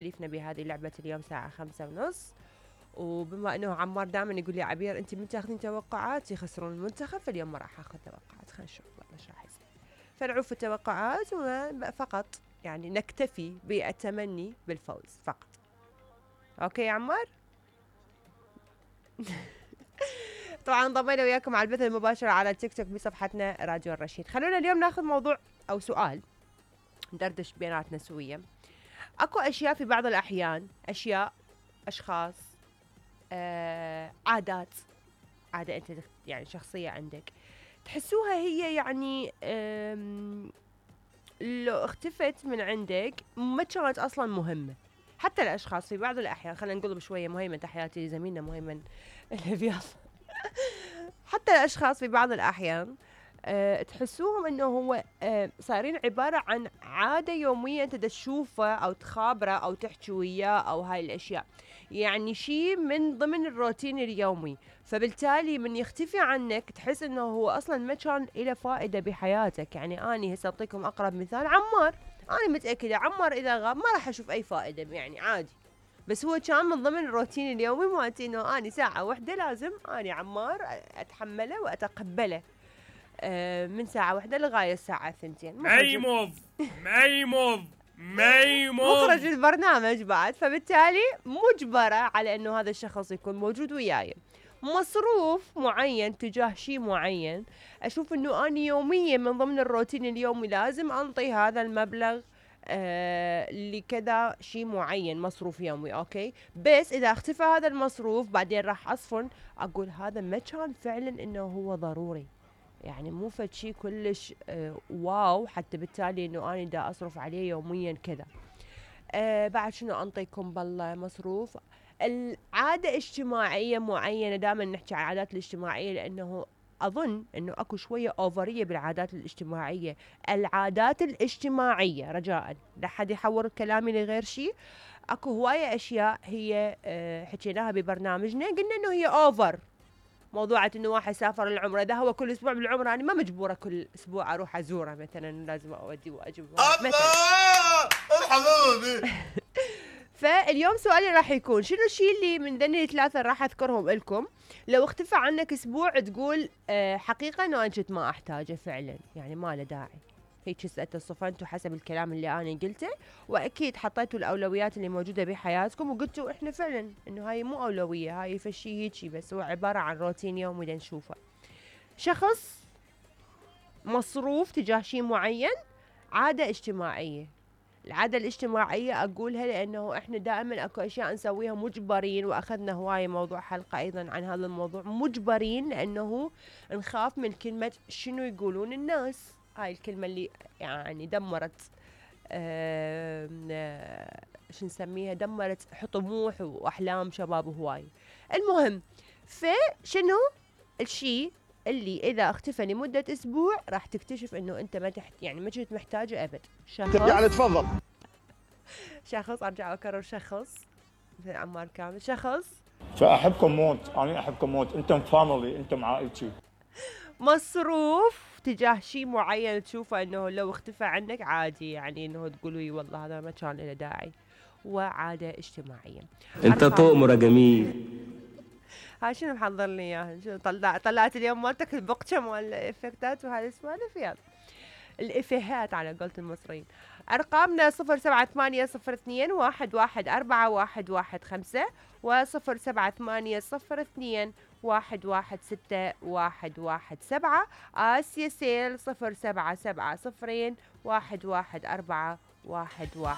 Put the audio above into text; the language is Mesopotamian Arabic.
تكليفنا بهذه اللعبة اليوم ساعة 5:30. وبما انه عمار دائما يقول لي عبير انت من تاخذين توقعات يخسرون المنتخب، فاليوم ما راح اخذ توقعات، خلينا نشوف والله ايش راح يصير. فنعوف التوقعات فقط، يعني نكتفي بالتمني بالفوز فقط. اوكي يا عمار؟ طبعا انضمينا وياكم على البث المباشر على التيك توك بصفحتنا راديو الرشيد. خلونا اليوم ناخذ موضوع او سؤال ندردش بيناتنا سويا. اكو اشياء في بعض الاحيان، اشياء، اشخاص، عادات، عادة انت يعني شخصية عندك تحسوها هي يعني لو اختفت من عندك ما كانت اصلا مهمة. حتى الاشخاص في بعض الاحيان، خلينا نقول بشوية مهيمن، تحياتي زميلنا مهيمن الهبياض. حتى الاشخاص في بعض الاحيان تحسوهم انه هو صايرين عبارة عن عادة يومية انت تشوفه او تخابره او تحكي وياه او هاي الاشياء، يعني شيء من ضمن الروتين اليومي. فبالتالي من يختفي عنك تحس انه هو اصلا ما كان له فائدة بحياتك. يعني اني هسه اعطيكم اقرب مثال، عمار، انا متأكدة عمار اذا غاب ما راح اشوف اي فائدة، يعني عادي، بس هو كان من ضمن الروتين اليومي مالتي انه اني ساعة واحدة لازم اني عمار اتحمله واتقبله، من ساعة واحدة لغاية الساعة 2. مخرج البرنامج بعد، فبالتالي مجبرة على انه هذا الشخص يكون موجود وياي. مصروف معين تجاه شيء معين، اشوف انه اني يوميا من ضمن الروتين اليومي لازم انطي هذا المبلغ لكذا شيء معين، مصروف يومي. اوكي، بس اذا اختفى هذا المصروف بعدين راح اصفن اقول هذا ما كان فعلا انه هو ضروري، يعني مو فد شيء كلش واو، حتى بالتالي انه انا دا اصرف عليه يوميا كذا. بعد شنو انطيكم بالله مصروف؟ العادة اجتماعية معينة، دائما نحكي عن العادات الاجتماعية لانه اظن انه اكو شوية اوفرية بالعادات الاجتماعية. العادات الاجتماعية رجاء لا حد يحور كلامي لغير شيء. اكو هواية اشياء هي حكيناها ببرنامجنا، قلنا انه هي اوفر. موضوعة انه واحد سافر العمرة، اذا هو كل اسبوع بالعمرة انا ما مجبورة كل اسبوع اروح ازوره، مثلا لازم اودي واجيب مثلا. فاليوم سؤالي راح يكون شنو الشيء اللي من ذني الثلاثة راح اذكرهم لكم لو اختفى عنك اسبوع تقول حقيقة انه انا كنت ما احتاجه فعلا، يعني ما له داعي. هيك صفنتوا حسب الكلام اللي انا قلته، واكيد حطيتوا الاولويات اللي موجوده بحياتكم وقلتوا احنا فعلا انه هاي مو اولويه، هاي فشي هيجي بس هو عباره عن روتين يومي نشوفه. شخص، مصروف تجاه شيء معين، عاده اجتماعيه. العادة الاجتماعية أقولها لأنه إحنا دائما أكو أشياء نسويها مجبرين، وأخذنا هواية موضوع حلقة أيضا عن هذا الموضوع، مجبرين لأنه نخاف من كلمة شنو يقولون الناس. هاي الكلمة اللي يعني دمرت شو نسميها، دمرت طموح وأحلام شباب هواي. المهم، فشنو الشيء اللي إذا اختفى لمدة أسبوع راح تكتشف إنه أنت ما يعني ما كنت محتاجه أبد. شخص، يعني تفضل. شخص، أرجع أكرر، شخص مثل عمار كامل، شخص فأحبكم موت، أنا أحبكم موت، أنتم فاميلي، أنتم عائلتي. مصروف تجاه شيء معين تشوفه انه لو اختفى عنك عادي، يعني انه تقولوا والله هذا ما كان له داعي. وعادة اجتماعية. انت طؤمرة جميل. هاي شنو محضر لي اياها؟ شنو طلعت اليوم مالتك البقشة مال الافكتات وهذه السوالف؟ يلا الافيهات على قولة المصريين. ارقامنا 0780211415 و0780211617. آسيا سيل 0770211411.